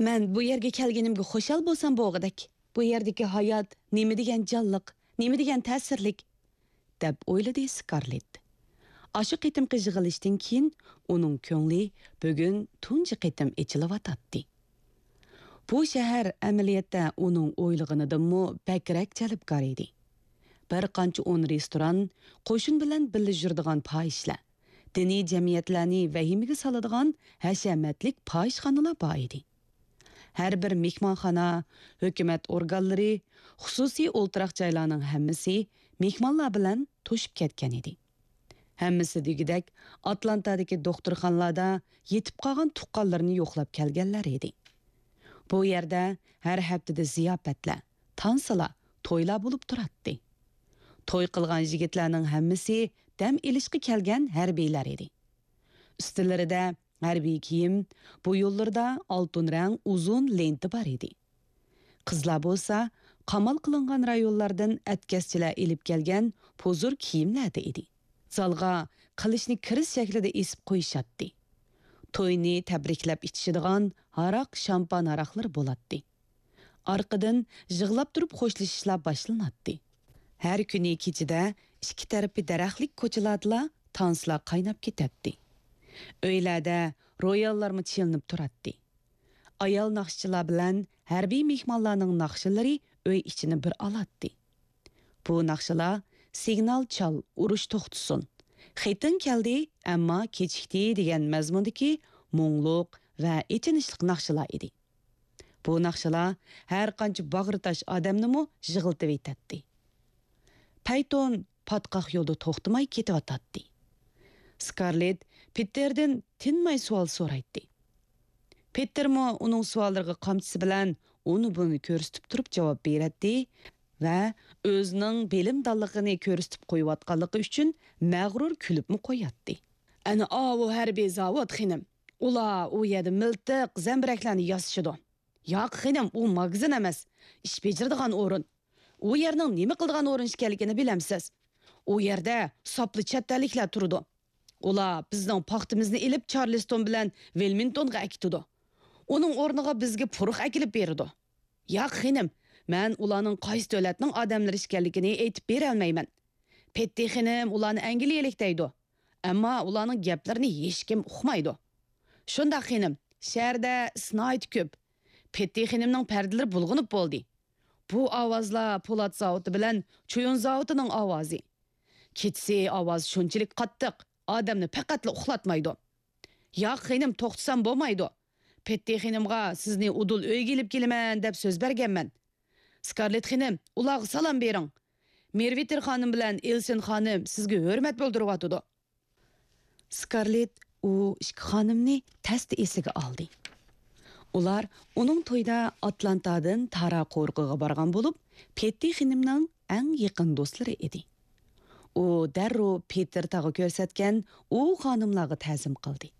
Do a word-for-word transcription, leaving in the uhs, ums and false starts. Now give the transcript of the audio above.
مەن بۇ يەرگە كەلگىنىمگە خۇشال بولسام بولغۇدەك. بۇ يەردىكى ھايات نېمە دېگەن جانلىق، نېمە دېگەن تەسىرلىك، دەپ ئويلىدى سكارلېت. ئاشۇ قېتىمقى يىغىلىشتىن كېيىن ئۇنىڭ كۆڭلى بۈگۈن تۇنجى قېتىم ئېچىلىۋاتاتتى. بۇ شەھەر ئەمەلىيەتتە ئۇنىڭ ئويلىغىنىدىنمۇ بەكرەك جەلپكار ئىدى. بىر قانچە ئون رېستوران، قوشۇن بىلەن بىللە يۈرىدىغان پاھىشلار، دىنىي جەمئىيەتلەرنى ۋەھىمىگە سالىدىغان ھەشەمەتلىك پاھىشخانىلار بار ئىدى. ھەر بىر مېھمانخانا، ھۆكۈمەت ئورگانلىرى، خۇسۇسىي ئولتۇراق جايلارنىڭ ھەممىسى مېھمانلار بىلەن توشۇپ كەتكەن ئىدى. ھەممىسى دېگۈدەك ئاتلانتادىكى دوختۇرخانىلاردا يېتىپ قالغان تۇغقانلىرىنى يوقلاپ كەلگەنلەر ئىدى. بۇ يەردە ھەر ھەپتىدە زىياپەتلەر، تانسىلار، تويلار بولۇپ تۇراتتى. توي قىلغان يىگىتلەرنىڭ ھەممىسى دەم ئېلىشقا كەلگەن ھەربىيلەر ئىدى. ئۈستىلىرىدە ھەربىي كىيىم، بويۇنلىرىدا ئالتۇن رەڭ ئۇزۇن لېنتا بار ئىدى. قىزلار بولسا قامال قىلىنغان رايونلاردىن ئەتكەسچىلەر ئېلىپ كەلگەن پۇزۇر كىيىملەردە ئىدى. زالغا قىلىچنى كىرىز شەكلىدە ئېسىپ قويۇشاتتى. توينى تەبرىكلەپ ئىچىشىدىغان ھاراق، شامپان ھاراقلىرى بولاتتى. ئارقىدىن يىغلاپ تۇرۇپ خوشلىشىشلار باشلىناتتى. ھەر كۈنى كېچىدە ئىككى تەرىپى دەرەخلىك كوچىلاردىلا تانسىلار قايناپ كېتەتتى. ئۆيلەردە روياللارمۇ چېلىنىپ تۇراتتى. ئايال ناخشىچىلار بىلەن ھەربىي مېھمانلارنىڭ ناخشىلىرى ئۆي ئىچىنى بىر ئالاتتى. بۇ ناخشىلار «سىگنال چال، ئۇرۇش توختىسۇن، خېتىڭ كەلدى، ئەمما كېچىكتى» دېگەن مەزمۇندىكى مۇڭلۇق ۋە ئېچىنىشلىق ناخشىلار ئىدى. بۇ ناخشىلار ھەر قانچە باغرى تاش ئادەمنىمۇ يىغلىتىۋېتەتتى. پەيتون پاتقاق يولدا توختىماي كېتىۋاتاتتى. سكارلېت پېتېردىن تىنماي سوئال سورايتتى. پېتېرمۇ ئۇنىڭ سوئاللىرىغا قامچىسى بىلەن ئۇنى-بۇنى كۆرسىتىپ تۇرۇپ جاۋاب بېرەتتى ۋە ئۆزىنىڭ بىلىمدانلىقىنى كۆرسىتىپ قويۇۋاتقانلىقى ئۈچۈن مەغرۇر كۈلۈپمۇ قوياتتى. ئەنە ئاۋۇ ھەربىي زاۋۇت، خېنىم. ئۇلار ئۇ يەردە مىلتىق، زەمبىرەكلەرنى ياسىشىدۇ. ياق، خېنىم، ئۇ ماگىزىن ئەمەس، ئىش بېجىرىدىغان ئورۇن. ئۇ يەرنىڭ نېمە قىلىدىغان ئورۇن ئىكەنلىكىنى بىلەمسىز؟ ئۇ يەردە ساپلا چەت ئەللىكلەر تۇرىدۇ. ئۇلار بىزنىڭ پاختىمىزنى ئېلىپ، چارلىستون بىلەن ۋىلمىنگتونغا ئەكېتىدۇ. ئۇنىڭ ئورنىغا بىزگە پۇرىق ئەكېلىپ بېرىدۇ. ياق، خېنىم، مەن ئۇلارنىڭ قايسى دۆلەتنىڭ ئادەملىرى ئىكەنلىكىنى ئېيتىپ بېرەلمەيمەن. پېتتى خېنىم ئۇلارنى ئەنگلىيەلىك دەيدۇ. ئەمما ئۇلارنىڭ گەپلىرىنى ھېچكىم ئۇقمايدۇ. شۇنداق، خېنىم، شەھەردە ئىس ناھايىتى كۆپ. پېتتى خېنىمنىڭ پەردىلىرى بۇلغىنىپ بولدى. بۇ ئاۋازلار پولات زاۋۇتى بىلەن چويۇن زاۋۇتىنىڭ ئاۋازى. كېچىسى ئاۋاز شۇنچىلىك قاتتىق، ئادەمنى پەقەتلا ئۇخلاتمايدۇ. ياق، خېنىم، توختىسام بولمايدۇ. پېتتى خېنىمغا سىزنى ئۇدۇل ئۆيگە ئېلىپ كېلىمەن دەپ سۆز بەرگەنمەن. سكارلېت خېنىم، ئۇلارغا سالام بېرىڭ. مېرۋىتېر خانىم بىلەن ئېلسىن خانىم سىزگە ھۆرمەت بىلدۈرۈۋاتىدۇ. سكارلېت ئۇ ئىككى خانىمنى تەستە ئېسىگە ئالدى. ئۇلار ئۇنىڭ تويىدا ئاتلانتادىن تارا قورۇقىغا بارغان بولۇپ، پېتتى خېنىمنىڭ ئەڭ يېقىن دوستلىرى ئىدى. ئۇ دەررۇ پېتېر تاغا كۆرسەتكەن ئۇ خانىملارغا تەزىم قىلدى.